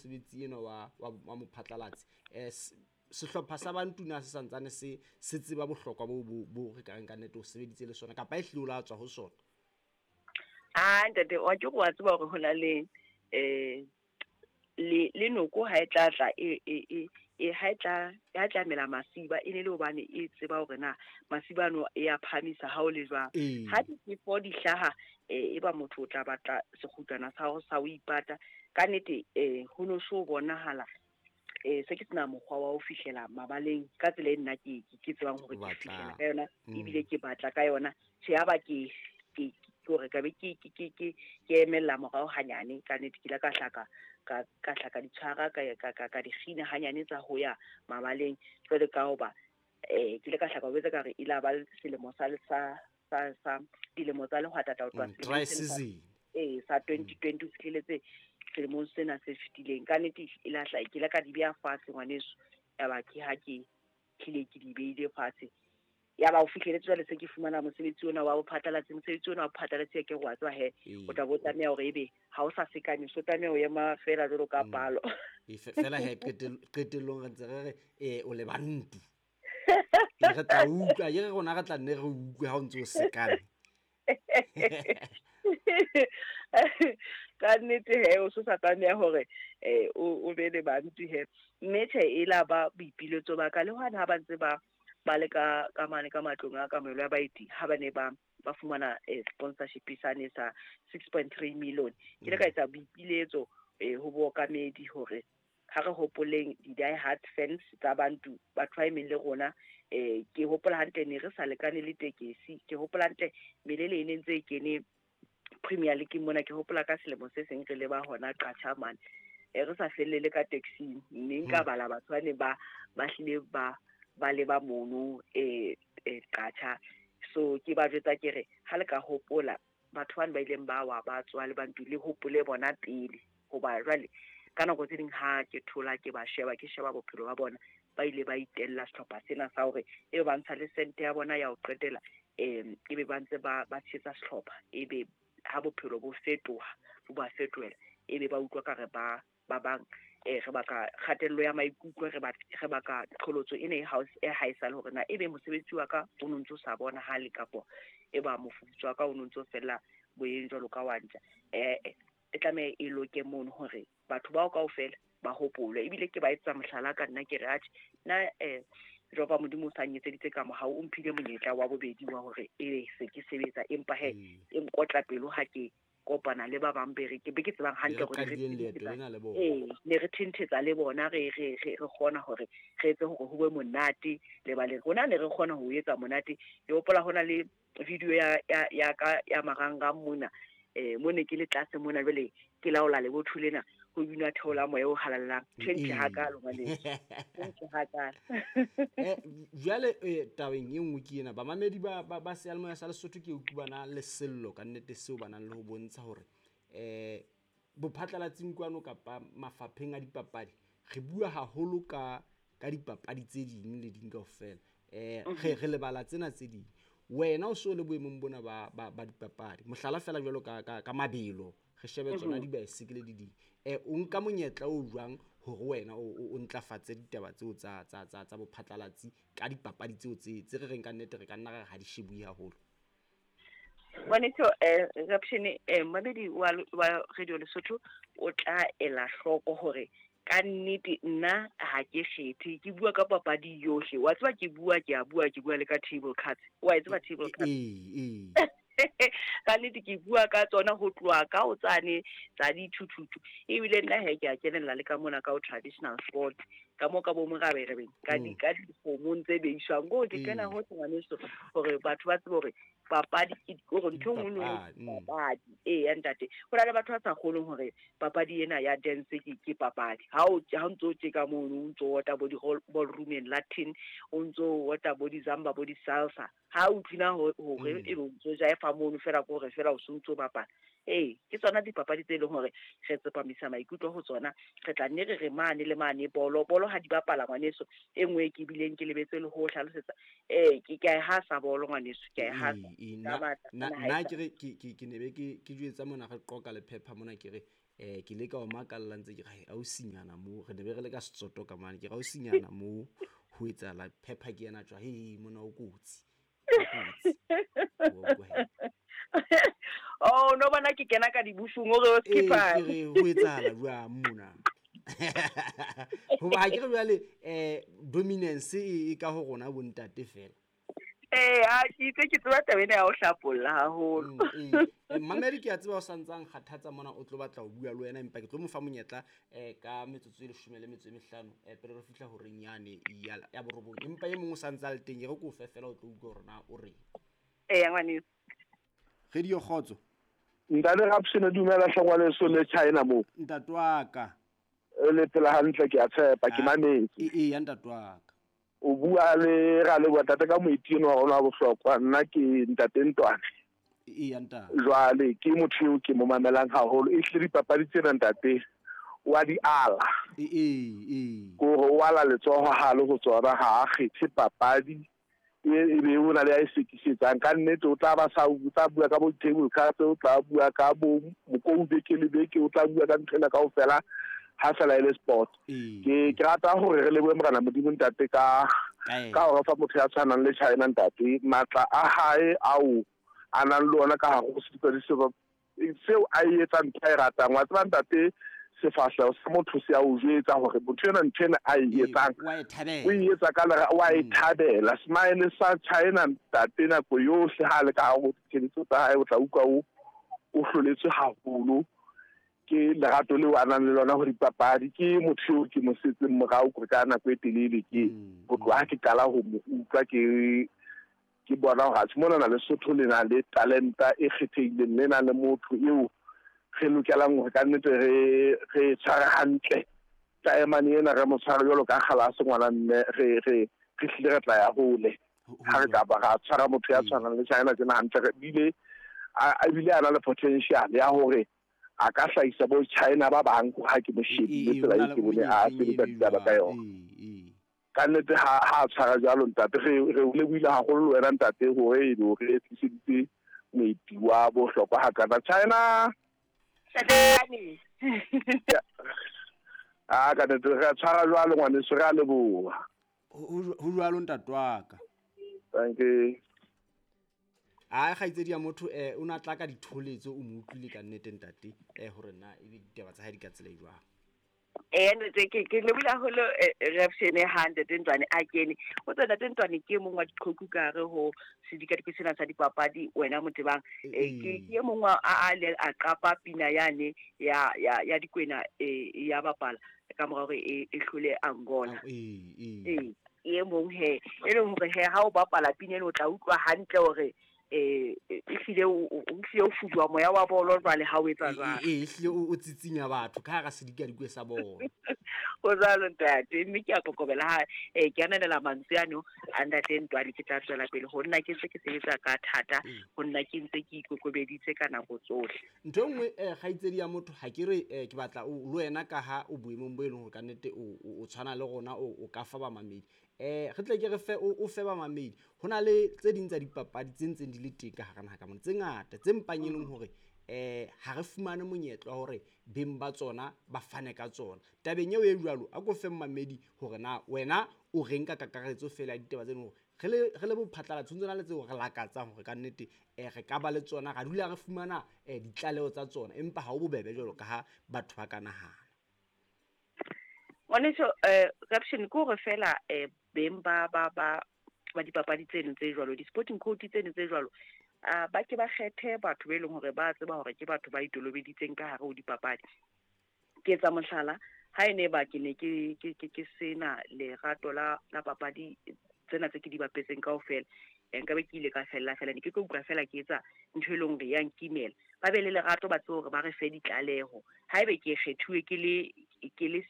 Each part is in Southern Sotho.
mosebetsi ena wa mophatlalatsi, sehlopha sa Bantu na se santsane se tseba bohlokwa bo re ka reng ka nnete o sebeditse le sona, kapa e hlile o la tswa ho sona? Ah, ntate, wa ke wa tseba hore hona le le noko ha e tla tla e ha e tla mela masiba, e ne le hobane e tseba hore na masiba ano e a phamisa ha o le jwang. Ha difefo di hlaha, e ba motho o tla batla sekgutlwana sa ho sa o ipata. Ka nnete, ho no so bonahala se ke sena mokgwa wa ho fihlela mabaleng ka tsela e nna ke tsebang hore ke fihlela ka yona, ebile ke batla ka yona. Tjhe, ya ba ke hore ka be ke emella morao hanyane. Ka nnete ke ile ka hlaka ka hlaka ditshwara ka dikgina hanyane tsa ho ya mabaleng. Jwale ka hoba ke ile ka hlaka ho betsa ka re ile ba selemo sa dilemo tsa lehwatata ho tloha dry season sa 2020 ho fihleletse selemong sena se fetileng. Ka nnete ile hla ke ile ka di beha fatshe ngwaneso, ya ba ke ha ke hlile ke di beile fatshe. Ya ba o fihleletse jwale se ke fumana mosebetsi ona wa bophatlalatsi. Mosebetsi ona wa bophatlalatsi ke wa tswa he, o tla bo tlameha hore ebe ha o sa sekane, so tlameha ho ema fela jwalo ka palo. Fela he qetellong re ntse re re o le Bantu. Re tla utlwa, ye re rona re tla nne re utlwe ha o ntse o sekane. Ka nnete he, o so sa tlameha hore o be le Bantu he. Mme tjhe, e la ba boipiletso ba ka le hwane ha ba ntse ba le ka mane ka matlong a kamohelo ya baeti, ha ba ne ba fumana sponsorship sane sa 6.3 million. Ke ile ka etsa boipiletso ho bookamedi hore ha re hopoleng di-die hard fans tsa Bantu, batho ba emeng le rona. Ke hopola hantle ne re sa lekane le tekesi, ke hopola hantle melele e ne ntse e kene Premier League mona. Ke hopola ka selemo se seng re leba hona Qacha mane, re sa fellele ka taxi, mme nka bala batho ba ne ba hlile ba leba mono Qacha. So ke ba jwetsa ke re ha le ka hopola batho bane ba ileng ba wa ba tswa le Bantu, le hopole bona pele, hoba jwale ka nako tse ding ha ke thola ke ba sheba, ke sheba bophelo ba bona, ba ile ba itella sehlopha sena sa hore e ba ntsha le sente ya bona ya ho qetela, ebe ba ntse ba tshehetsa sehlopha, ebe ha bophelo bo fetoha, bo ba fetohela, ebe ba utlwa ka re ba bang re baka kgatello ya maikutlo, re baka qholotso ena e haesale hore na ebe mosebetsi wa ka o no ntso sa bonahale, kapo e ba mofuputso wa ka o no ntso fella boyeng jwalo ka wa ntja. E tlameha e loke mono hore batho bao kaofela ba hopolwe. Ebile ke ba etsa mohlala ka nna, ke re atjhe nna jehova Modimo o sa nyetseditse ka mohau, o mphile monyetla wa bobedi wa hore ebe se ke sebetsa, empa he e nkotla pelo ha ke kopana le ba bang be re ke be ke tsebang hantle hore ne re thenthetsa le bona, re kgona hore re etse hore ho be monate le ba le rona, ne re kgona ho etsa monate. Ke hopola hona le video ya ka ya marangrang mona, mo ne ke le tlase mona jwale ke laola lebotho lena, ho binwa theola moya o halalelang. Tjhe hakalo ngwaneso, tjhe hakalo. Jwale tabeng e nngwe ke ena, bamamedi ba seyalemoya sa Lesotho ke utlwa bana le sello ka nnete seo ba nang le ho bontsha hore bophatlalatsing kwano kapa mafapheng a dipapadi re bua haholo ka dipapadi tse ding le ding kaofela, re lebala tsena tse ding. Wena o so le boemong bona ba dipapadi, mohlala fela jwalo ka mabelo, re shebe tsona dibaesekele di ding, o nka monyetla o jwang hore wena o ntlafatse ditaba tseo tsa bophatlalatsi ka dipapadi tseo tse re reng ka nnete re ka nna re ha di shebuwe haholo? Ngwaneso, Rapshene, mamedi wa Radio Lesotho o tla ela hloko hore ka nnete nna ha ke kgethe, ke bua ka papadi yohle. Wa tseba ke bua, ke a bua, ke bua le ka table cards. Wa e tseba table cards? Ka nnete ke bua ka tsona ho tloha ka ho tsane tsa dithuthuthu, ebile nna he ke a kenella le ka mona ka ho traditional sport, ka mo ka bo moraberebeng, ka dikgomong tse beiswang ko ke kena ho ngwaneso, hore batho ba tsebe hore papadi ke hore ntho e nngwe le nngwe papadi. Ya ntate, ho na le batho ba sa kgoneng hore papadi ena ya dance ke papadi. Ha o ntso o tjeka mono, o ntso ota bo di-ballroom Latin, o ntso ota bo di-zamba, bo di-salsa, ha o utlwina hore e be o ntso jaefa mono fela, ke hore fela o so ntso bapala. Ke tsona dipapadi tse leng hore re tsepamisa maikutlo ho tsona. Re tla nne re re mane le mane bolo ha di bapala ngwaneso. E nngwe ke bileng ke lebetse le ho hlalosetsa, ke a e hasa bolo ngwaneso, ke a e hasa. Nna ke re ke ne be ke jwetsa mona re qoka le phepha mona, ke re Ke le ka o makalla ntse ke re ausinyana mo re ne be re le ka Setsoto ka mane, ke re ausinyana mo ho etsahala phepha ke yena tswa he mona o kotsi. Oh no bona ke kena ka dibusung o re o skipper. Ke re ho etsahala jwang mona? Hoba ha ke re jwale dominance e ka ho rona bontate fela. A ke itse ke tseba taba ena ya ho hlapolla haholo. Mamedi ke a tseba o santsang kgathatsa mona o tlo batla ho bua le wena, empa ke tlo mo fa monyetla ka metsotso e 15 pele re fihla horeng yane ya borobong. Empa e mong o santsa le teng, e re ko fe fela o tlo utlwa hore na o reng. Ngwaneso. Radio Kgotso. Ntate Rapshene, dumela hle ngwaneso le China mo. Ntate wa ka. Le phela hantle ke a tshepa, ke mametse. Eya ntate wa ka. O bua le ra le bua tate ka moeti eno wa rona wa bohlokwa, nna ke ntate Ntwane. Eya ntate. Jwale ke motho eo ke mo mamelang haholo, e hlile dipapadi tsena ntate wa di ala. Kore o ala letsoho ha le ho tsona, ha a kgethe papadi e be o na le a e sekisetsang. Ka nnete o tla ba sa o tla bua ka bo table cards, o tla bua ka bo mokou beke le beke, o tla bua ka ntho ena kaofela ha fela e le sport. Ke rata hore re lebohe Morena Modimo ntate ka hore fa motho ya tshwanang le China ntate, matla a hae ao a nang le ona ka hare ho sedikadiko seo a e etsang ntho a e ratang. Wa tseba ntate, sefahleho sa motho se a o jwetsa hore motho ena ntho ena a e etsang o e etsa ka lera, wa e thabela. Smile sa China ntate nako yohle ha le ka hare ho ditshebetso tsa hae, o tla utlwa o hloletswe haholo ke lerato leo a nang le lona ho dipapadi. Ke motho eo ke mo setseng morao kore ka nako e telele, ke ho tloha ke qala ho mo utlwa ke bona hore atjhe mona na Lesotho le na le talenta e kgethehileng, le na le motho eo re lokelang hore ka nnete re tshware hantle. Taemane ena re mo tshware jwalo ka kgalase ngwana mme, re hlile re tla ya hole ha re ka ba ra tshwara motho ya tshwanang le China tjena hantle. Re bile a bile a na le potential ya hore a ka hlahisa bo China ba bang ha ke mo shebile tsela e ke bone a sebetsa ditaba ka yona. Ka nnete ha a tshwara jwalo ntate, re o lebohile haholo le wena ntate hore e be o re tliseditse moeti wa bohlokwa hakana. China a ka nnete re tshwara jwalo ngwaneso, re a leboha. Ho jwalo ntate wa ka. Thank you. A kgaitsedi ya motho o na tla ka ditholetso, o mo utlwile ka nnete ntate hore na ebe ditaba tsa hae di ka tsela e jwang. Ntate ke lebohile haholo Rapshene ha ntate Ntwane a kene. O tswa ntate Ntwane ke mong wa diqhoku ka hare ho sedikadiko sena sa dipapadi, wena Motebang. Ke e mong wa a le a qapa pina yane ya dikwena ya bapala ka mora hore e hlole Angola. E mong he e leng hore he ha o bapala pina eno o tla utlwa hantle hore ehlile o fuduwa moya wa bolo jwale ha o etsa jwalo. Ehlile o tsitsinya batho ka hara sedikadikwe sa bolo. O jwalo ntate, mme ke a kokobela ha ke ananela mantswe ano a ntate Ntwane. Ke tla tswela pele ho nna ke ntse ke sebetsa ka thata, ho nna ke ntse ke ikokobeditse ka nako tsohle. Ntho e nngwe kgaitsedi ya motho, ha ke re ke batla o le wena ka ha o boemong bo e leng hore ka nnete o tshwana le rona, o ka fa bamamedi. Re tle ke re fe o fe bamamedi. Ho na le tse ding tsa dipapadi tse ntseng di le teng ka hara naha ka mona, tse ngata tse mpang e leng hore ha re fumane monyetla wa hore beng ba tsona ba fane ka tsona. Tabeng eo e jwalo, a ko fe mmamedi hore na wena o reng ka kakaretso fela ya ditaba tseno, hore re le bophatlalatso ntse na le tseo re lakatsang hore ka nnete re ka ba le tsona, ra dula re fumana ditlaleho tsa tsona, empa ha ho bobebe jwalo ka ha batho ba ka nahana. Ngwaneso Rapshene, ke hore fela beng ba dipapadi tseno tse jwalo, di-sporting code tseno tse jwalo, ba ke ba kgethe batho be leng hore ba tseba hore ke batho ba itolobeditseng ka hare ho dipapadi. Ke etsa mohlala, ha e ne ba ke ne ke sena lerato la papadi tsena tse ke di bapetseng kaofela, nka be ke ile ka fella fela, ne ke tlo utlwa fela ke etsa ntho e leng hore ya nkimela. Ba be le lerato, ba tsebe hore ba re fe ditlaleho. Haebe ke kgethuwe ke le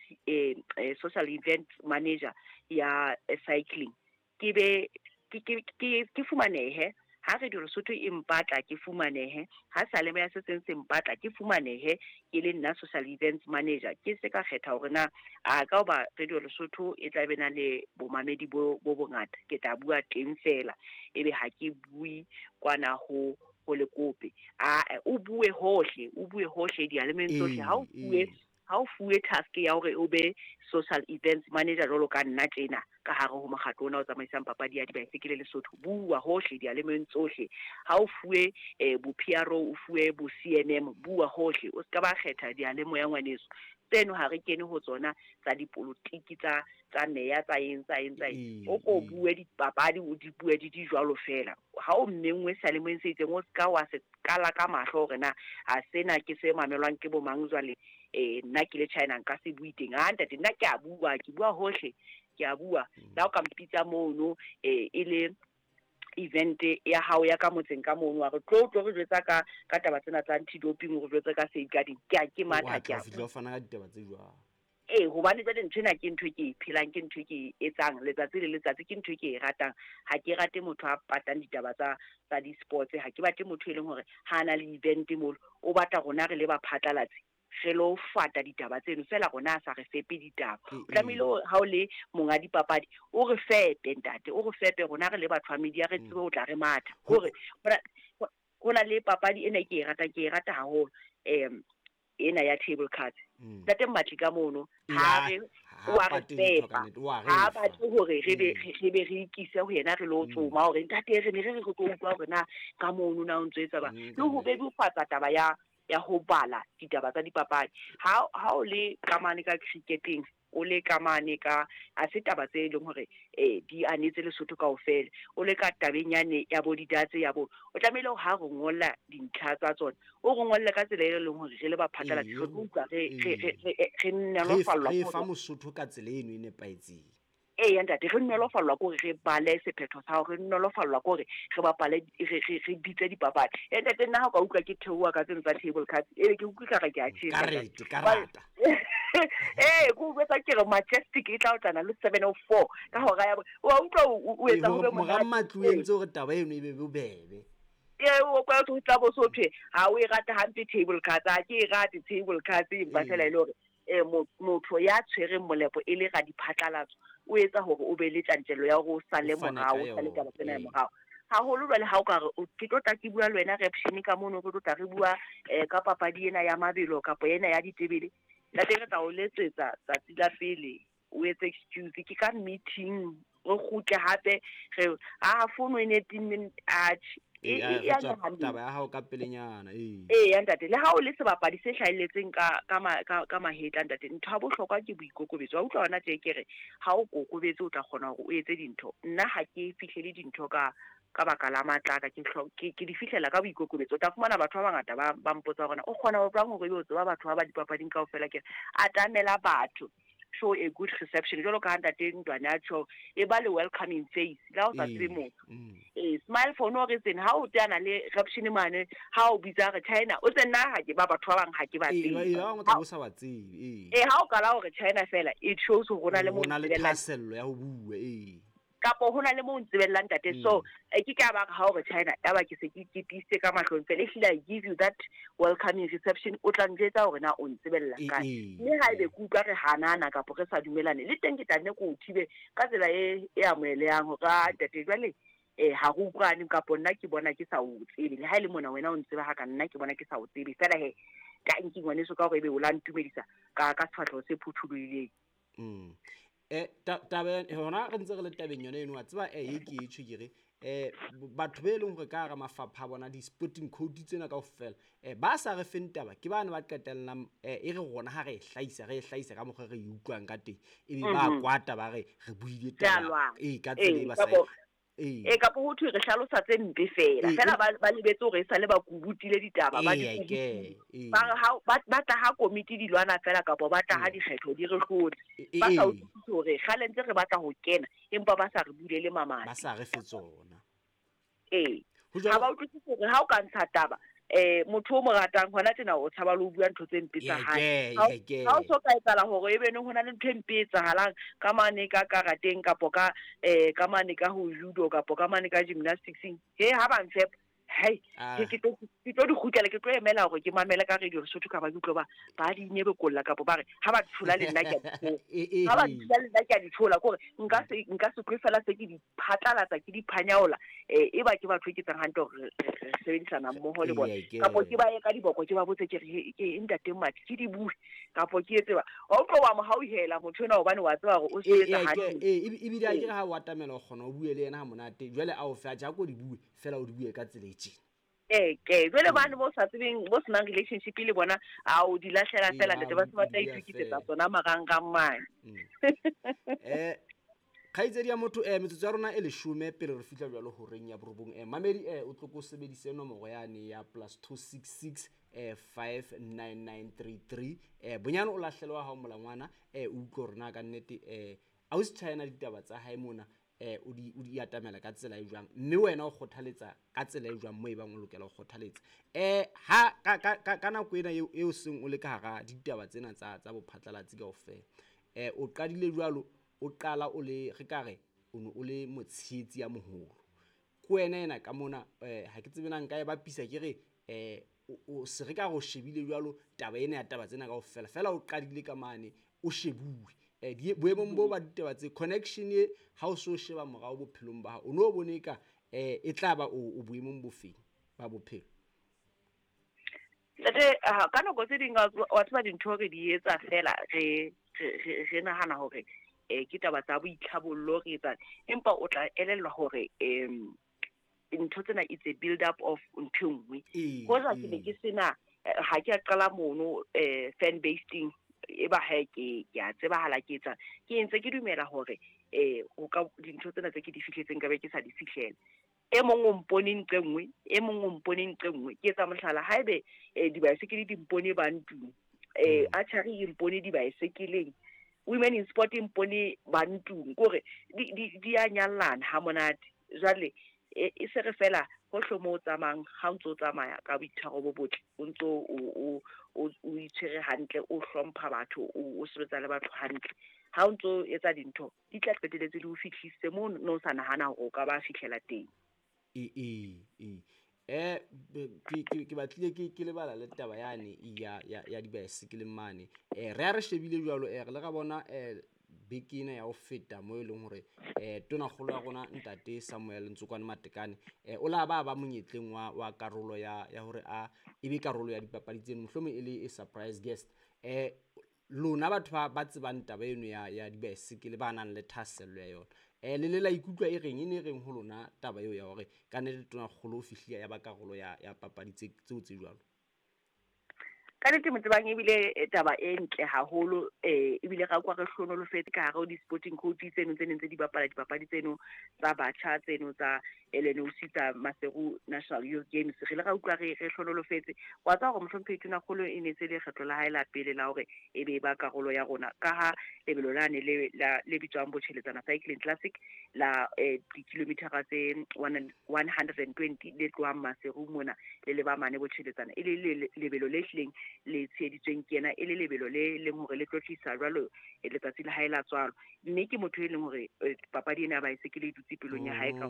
social event manager ya cycling, ke be ke fumanehe. Ha Radio Lesotho e mpatla ke fumanehe, ha Salema ya se seng se mpatla ke fumanehe, ke le nna social events manager. Ke se ka kgetha hore na a ka hoba Radio Lesotho e tla be na le bomamedi bo bongata, ke tla bua teng fela, ebe ha ke bue kwana ho ho lekope. A o bue hohle, o bue hohle diyalemeng tsohle. Ha o fuwe ha o fuwe task ya hore o be social events manager jwalo ka nna tjena ka hare ho mokgatlo ona o tsamaisang papadi ya dibaesekele Lesotho, bua hohle diyalemeng tsohle. Ha o fuwe bo PRO, o fuwe bo CNM, bua hohle. O ska ba kgetha diyalemoya ngwaneso. Tseno ha re kene ho tsona tsa dipolotiki tsa tsa meya tsa eng tsa eng tsa eng. O ko bue dipapadi, o di bue di di jwalo fela. Ha o mmenngwe seyalemoyeng se itseng, o ska wa se qala ka mahlo hore na a sena ke se mamelwang ke bo mang jwale. Nna ke le China nka se bue teng. Ah ntate, nna ke a bua, ke bua hohle, ke a bua. Le ha o ka mpitsa mono e le event ya hao ya ka motseng ka mono, wa re tlo tlo re jwetsa ka ka taba tsena tsa anti-doping, o re jwetse ka safeguarding. Ke a ke matha, ke a fihla o fana ka ditaba tse jwalo. Ee, hobane jwale ntho ena ke ntho e ke e phelang, ke ntho e ke e etsang letsatsi le letsatsi, ke ntho e ke e ratang. Ha ke rate motho a patang ditaba tsa tsa di-sports, ha ke batle motho e leng hore ha na le event molo, o batla rona re le ba phatlalatsi re lo fata ditaba tseno fela, rona a sa re fepe ditaba. O tlamehile hore ha o le monga dipapadi, o re fepe ntate, o re fepe rona re le batho ba media, re tsebe ho tla re matha. Hore ho na le papadi ena ke e ratang, ke e rata haholo, ena ya table cards. Ntate Mmatli ka mono, ha re wa re fepa, ha batle hore re be re be re ikise ho yena re lo tsoma hore ntate re ne re re tlo utlwa hore na ka mono na o ntso etsa ba. Le ho bebofatsa taba ya ya ho bala ditaba tsa dipapadi. Ha ha o le kamane ka cricketeng, o le kamane ka a se taba tse leng hore di anetse Lesotho kaofela. O le ka tabeng yane ya bo didatse ya bo, o tlamehile ha re ngolla dintlha tsa tsona, o re ngolle ka tsela e leng hore re le ba phatlalatsi re tlo utlwa re re re nolofallwa re fa Mosotho ka tsela eno e nepahetseng. Ee ntate, re nolofallwa ke hore re bale sephetho sa hore, re nolofallwa ke hore re bapale, re re re bitse dipapadi. E ntate, nna ha o ka utlwa ke theoha ka tseno tsa table cards, ebe ke utlwa re ke a tjhesa. Karete, karata. Ee, ke o jwetsa ke re Majestic e tla otlana le 7:04 ka hora ya wa utlwa o etsa ho be monate. Mora Matlu o entse hore taba eno e be bobebe. Ee, o kwa o tla bo so thwe ha o e rata hampe table cards, ha ke e rate table cards, empa fela e le hore motho ya tshwereng molepo e le radiphatlalatso o etsa hore o be le tjantjello ya hore o sale morao, o sale taba tsena morao haholo. Jwale ha o ka re ke tlo tla ke bua le wena Reption ka mono, re tlo tla re bua ka papadi ena ya mabelo kapa ena ya ditebele, ntate re tla o letsetsa tsatsi la pele, o etse excuse ke ka meeting, re kgutle hape re a fono e ne timme atjhe. Taba ya hao ka pelenyana. Ee ya ntate, le ha o le sebapadi se hlahelletseng ka ka ka mahetla ntate, ntho ya bohlokwa ke boikokobetso. Wa utlwa hona tje ke re ha o kokobetse o tla kgona hore o etse dintho. Nna ha ke fihlele dintho ka ka baka la matla ka, ke di fihlela ka boikokobetso. O tla fumana batho ba bangata ba ba mpotsa hore o kgona ho jwang hore ebe o tseba batho ba ba dipapading kaofela. Ke re atamela batho, show a good reception, jwalo ka ha ntate Ntwane a tjho, e ba le welcoming face le ha o sa tsebe motho. Smile for no reason. Ha o teana le Reption mane, ha o bitsa re China, o tse nna ha ke ba batho ba bang ha ke ba tsebe. Ba sa ba tsebe. Ee, ha o kala hore China fela, it shows hore hona le mo le thahasello ya ho bua. Ee, kapo hona le mo ntsebellang ntate. So ke ka ba ha hore China ya ba ke se ke tiisitse ka mahlong fela, ehlile I give you that welcoming reception. O tla njwetsa hore na o ntsebella kae, mme ha ebe ke utlwa re hanana kapo re sa dumelane le teng, ke tla nne ke o thibe ka tsela e e amohelehang hore a ntate jwale ha re utlwane, kapo nna ke bona ke sa o tsebe, le ha e le mona wena o ntseba ha ka nna ke bona ke sa o tsebe fela. He tanki ngwaneso ka hore ebe o la ntumedisa ka ka sefahleho se phuthulohileng. Taba hona re ntse re le tabeng yona eno, wa tseba e ke e tjho ke re batho be leng hore ka hara mafapha a bona di-sporting code tsena kaofela, ba sa re feng taba ke bane ba qetellang e re rona ha re e hlahisa, re e hlahisa ka mokgwa re e utlwang ka teng, ebe ba kwata ba re re buile taba ka tsela e ba sa e kapo ho thwe re hlalosa tse mpe fela fela, ba lebetse hore e sale ba kubutile ditaba, ba di ba re ha ba tla ha komiti di lwana fela, kapo ba tla ha dikgetho di re hlotse, ba sa utlwisise hore kgale ntse re batla ho kena empa ba sa re bulele mamati, ba sa re fe tsona. Ee, ha ba utlwisise hore ha o ka ntsha taba motho o mo ratang hona tjena o tshaba le ho bua ntho tse mpe tsa hae. Ha o so ka etsahala hore ebe neng hona le ntho e mpe e etsahalang ka mane ka karateng kapo ka ka mane ka ho judo kapo ka mane ka gymnasticseng, he ha ba nfepa Hei, ke tlo di kgutlela, ke tlo emela hore ke mamele ka radio Lesotho ka ba ke utlwe ba di nyebekolla kapo ba re ha ba tshola le nna ke a di tshola. Ha ba tshola le nna ke a di tshola, kore nka se tlo fela se ke di phatlalatsa, ke di phanyaola, e ba ke batho e ke tsang hantle hore re sebedisana mmoho le bona. Kapo ke ba ye ka diboko, ke ba botse ke re ke ntate Mmatli, ke di bue kapo ke etse ba. Wa utlwa wa mo hauhela motho enwa hobane wa tseba hore o sebetsa hantle. Ebile a ke re ha o atamela o kgona o bue le yena ha monate, jwale a o fe a ja ko di bue fela o di bue ka tsela e tjena. Ke jwale bane bo sa tsebeng, bo senang relationship le bona, a o di lahlela fela ntate, ba se ba tla itokisetsa tsona marangrang mane. Kgaitsedi ya motho, metsotso ya rona e 10 pele re fihla jwalo horeng ya 9. Mamedi, o tlo ko sebedise nomoro yane ya +266 59933. Bonyane o lahlelwa wa hao molangwana, o utlwe hore na ka nnete ausi China ditaba tsa hae mona, o di atamela ka tsela e jwang, mme wena o kgothaletsa ka tsela e jwang mo e bang o lokela ho kgothaletsa. Ha ka nako ena eo seng o le ka hara ditaba tsena tsa bophatlalatsi kaofela, o qadile jwalo, o qala o le re ka re o ne o le motshehetsi ya moholo. Ke wena ena ka mona, ha ke tsebe na nka e bapisa ke re o se re ka re o shebile jwalo taba ena ya taba tsena kaofela, fela o qadile ka mane o shebuwe. Boemong bo ba ditaba tse connection e ha o so sheba morao bophelong ba hao, o no bone ka e tla ba o boemong bofeng ba bophelo? Ntate, ka nako tse ding wa tseba dintho re di etsa fela re nahana hore ke taba tsa boitlhabollo re etsang, empa o tla elellwa hore ntho tsena it's a build up of ntho e nngwe. Hoja ke ne ke sena, ha ke a qala mono fan basing, e ba hae ke a tsebahala ke etsa, ke entse ke dumela hore o ka dintho tsena tse ke di fihletseng ka be ke sa di fihlela. E mong o mpone nqe nngwe, e mong o mpone nqe nngwe. Ke etsa mohlala, haebe dibaesekele di mpone bantung, archery e mpone dibaesekeleng, women in sport e mpone bantung, kore di a nyallana ha monate. Jwale e se re fela hohle moo o tsamayang, ha o ntso o tsamaya ka boitshwaro bo botle, o ntso o itshwere hantle, o hlompha batho, o sebetsa le batho hantle, ha o ntso etsa dintho di tla qetelletse di o fihlise moo no sa nahana hore o ka ba fihlela teng. Ke batlile ke lebala le taba yane ya dibaesekele mane. Re a re shebile jwalo, re le ra bona beke ena ya ho feta mo e leng hore tonakgolo ya rona ntate Samuel Ntsokwane Matekane, o la ba monyetleng wa karolo ya hore a ebe karolo ya dipapadi tseno, mohlomong e le e surprise guest. Lona batho ba tsebang taba eno ya dibaesekele, ba nang le thahasello ya yona, le la ikutlwa e reng, e ne reng ho lona taba eo ya hore ka nnete tonakgolo o fihlile ya ba karolo ya papadi tseo tse jwalo? Ka nnete Motsebang, ebile taba e ntle haholo, ebile ra kwa re hlonolofetse ka hare ho di-sporting coach tseno tse neng tse di bapala dipapadi tseno tsa batjha tseno tsa LNOC tsa Maseru National Youth Games. Re ile ra utlwa re hlonolofetse. Wa tseba hore mohlomphehi Tonakgolo e ne se le kgetlo la hae la pele la hore e be ba karolo ya rona, ka ha lebelo lane le bitswang Botjheletsana Cycling Classic la dikilomitara tse 120 le tlohang Maseru mona le leba mane Botjheletsana, e le lebelo le hlileng le tsheheditsweng ke yena, e le lebelo le leng hore le tlotlisa jwalo letsatsi la hae la tswalo. Mme ke motho e leng hore papadi ena ya baesekele e dutse pelong ya hae ka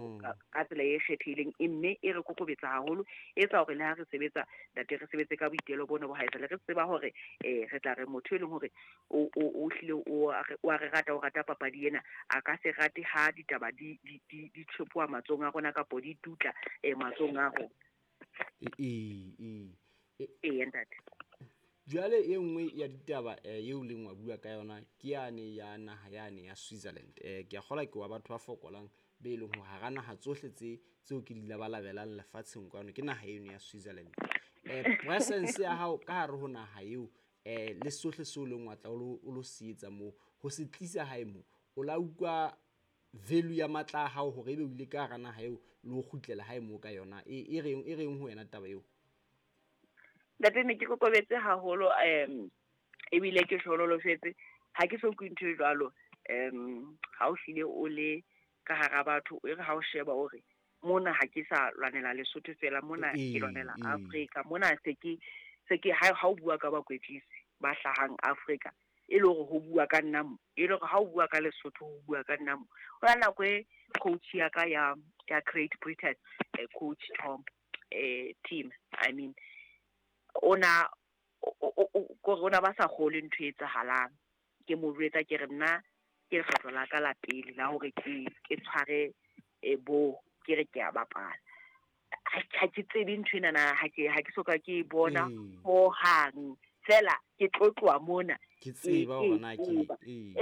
tsela e kgethehileng, mme e re kokobetsa haholo, e etsa hore le ha re sebetsa ntate re sebetse ka boitelo bona bo haesale, re tseba hore re tla re motho e leng hore o hlile o a re rata, o rata papadi ena, a ka se rate ha ditaba di tshepoa matsohong a rona kapo di dutla matsohong a rona. Ntate. Jwale e nngwe ya ditaba eo leng wa bua ka yona ke yane ya naha yane ya Switzerland. Ke a kgolwa ke wa batho ba fokolang be leng hore hara naha tsohle tseo ke di labalabelang lefatsheng kwano ke naha eno ya Switzerland. Presence ya hao ka hare ho naha eo, le sohle seo leng wa tla o lo se etsa moo, ho se tlisa hae moo, o la utlwa value ya matla a hao hore ebe o ile ka hara naha eo le ho kgutlela hae moo ka yona. E reng ho wena taba eo? Ntate, ne ke kokobetse haholo, ebile ke hlonolofetse. Ha ke so utlwe ntho e jwalo. Ha o hlile o le ka hara batho, e re ha o sheba o re mona ha ke sa lwanela Lesotho fela, mona ke lwanela Afrika, mona se ke ha o bua ka bakwetlisi ba hlahang Afrika, e le hore ho bua ka nna mo, e le hore ha o bua ka Lesotho ho bua ka nna mo. Ho na nako e coach ya ka ya Great Britain, coach Tom, team, I mean, ona kore ona ba sa kgolwe ntho e etsahalang. Ke mo jwetsa ke re nna ke lekgetlo la ka la pele la hore ke ke tshware bo ke re ke a bapala. Ha ke tsebe ntho enana, ha ke soka ke e bona hohang. Feela ke tlo tloha mona ke tseba hore na ke ee.